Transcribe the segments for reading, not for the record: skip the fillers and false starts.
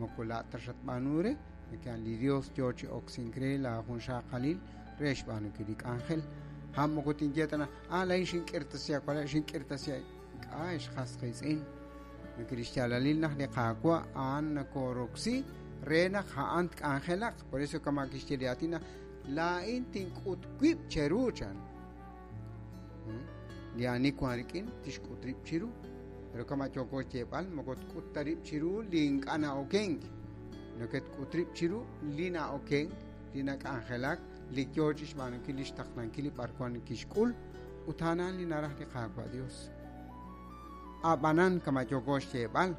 Moko laa'at ta xatb'aanu re, nake'an li Dios yoo chi oksink re laa junxaqalil re xb'aanunkil li k'anjel. Ha' moko tinye ta naq, ah, laa'in xink'irtasi aawalal, xink'irtasi Ink'a', ex qas qiitz'in. Naq li xyaalalil naq li Qaawa' a'an nakoroksi re naq a'an tk'anjelaq. Por eso kama' kixye li aatin naq laa'in tink'ut wib' cheru chan. Li ani wank rik'in tixk'ut rib' chiru. Pero kama' yooko xyeeb'al moko tk'ut ta rib' chiru li ink'a' na'okenk. Neke'tk'ut rib' chiru li na'okenk, li nak'anjelak, li yoo chixb'aanunkil lix taqlankil li b'arwan kixk'ul, ut a'an li naraj li Qaawa' Dios. A'b'anan, kama' yooko xyeeb'al,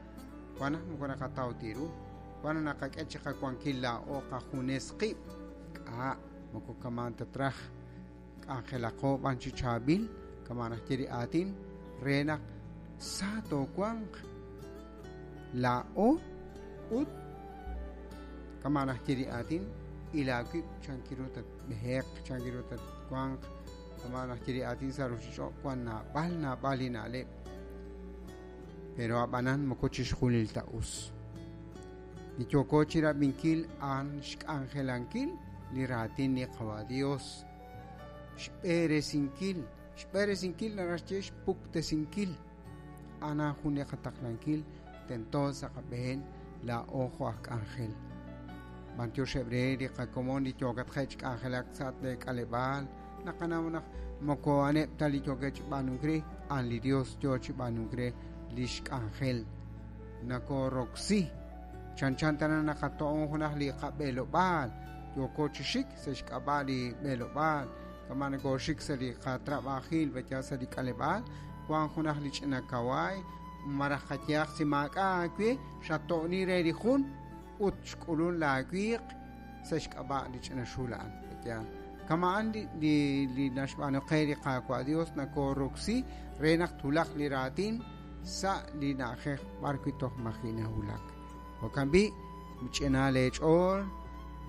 wan naq moko naqataw ta ru, wan naq naqak'e chiqawankil laa'o qajunes qib', k'a' moko kama'an ta traj, k'anjelaqo b'an chi chaab'il, kama' naxye li aatin, re naq sa toowanq laa'o ut kama' naxye li aatin, il aawib' chankiru tatb'eheq, chankiru tatwanq, kama' naxye li aatin sa' ruchich'och' wan naab'al naab'al li na'leb', pero a'b'anan moko chixjunil ta us. Li yooko chirab'inkil a'an xk'anjelankil li raatin li Qawa' Dios, xb'eresinkil, xb'eresinkil naraj xye xpuktesinkil, a'an jun li qataqlankil tento sa' qab'een laa'o jo' aj k'anjel. B'antioxeb' re li qakomon li yookatqe' chi k'anjelak sa' lee k'aleb'aal, naqanaw naq moko a'aneb' ta li yookeb' chi b'aanunk re, a'an li Dios yoo chi b'aanunk re lix k'anjel. Nakoroksi chanchan tana naqato'on junaq li qab'elob'aal, yooko chi xik sa' xk'ab'a' li b'elob'aal, kama' nakooxik sa' li qatrab'ajil b'ayal sa' li k'aleb'aal, wan junaq li ch'ina kawaay, malaj qayehaq si maak'a' aawe xato'ni re li jun ut xk'ulun laawiiq sa' xk'ab'a' li ch'ina xul a'an. B'ayal kama'an li li li naxb'aanu qe li Qaawa' Dios nakoroksi re naq twulaq li raatin sa' li na'ajej b'arwi' toj maji' nawulak. Jo'kan b'i', mich'ina leech'ool,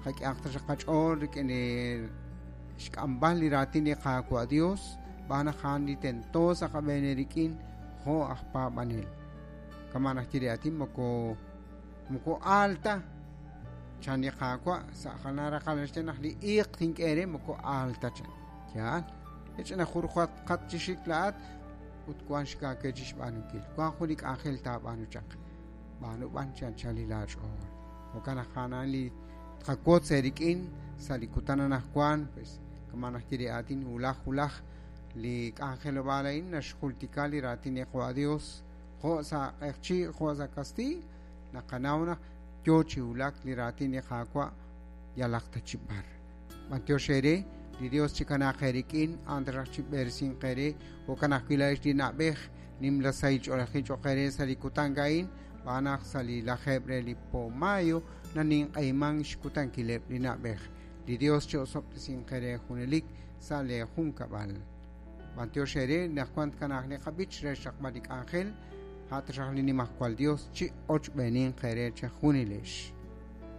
qak'ehaq taxaq qach'ool rik'in li xk'amb'al li raatin li Qaawa' Dios, xb'aan naq a'an li tento sa' qab'een eerik'in jo' aj paab'anel. Kama' naxye li aatin moko moko aal ta chan li Qaawa' sa' jalan raqal naxye naq li iiq tink'e eere moko aal ta chan. Yaal, ch'ina jurjatqat chi xik laa'at ut wank xik aawe chi xb'aanunkil. Wank jun li k'anjel taab'aanu chaq. B'aanu b'an chi anchal li laach'ool. Jo'kan naq a'an li tqawotz eerik'in sa' li kutan anaqwan, pues kama' naxye li aatin wulaj wulaj li k'anjelob'aal a'in naxjultika li raatin li Qawa' Dios jo' sa' q'eqchi' jo' sa' kastiiy, naqanaw naq yoo chi wulak li raatin li Qaawa' yalaq ta chi b'ar. B'antiox eere, li Dios chikanaaq eerik'in, a'an taxaq chib'eresinq eere, jo'kan ajwi' laa'ex li na'b'ej, nimla sahil ch'oolejil cho'q eere sa' li kutan a'in, xb'aan naq sa' li lajeeb' re li po mayo naninq'ehimank xkutankileb' li na'b'ej. Li Dios chi'osob'tesinq eere junelik sa' lee junkab'al. B'antiox eere naq wan tkanaaq li qab'ich re xraqb'al li k'anjel, a' taxaq li Nimajwal Dios chi'ochb'eeninq eere chejunilex.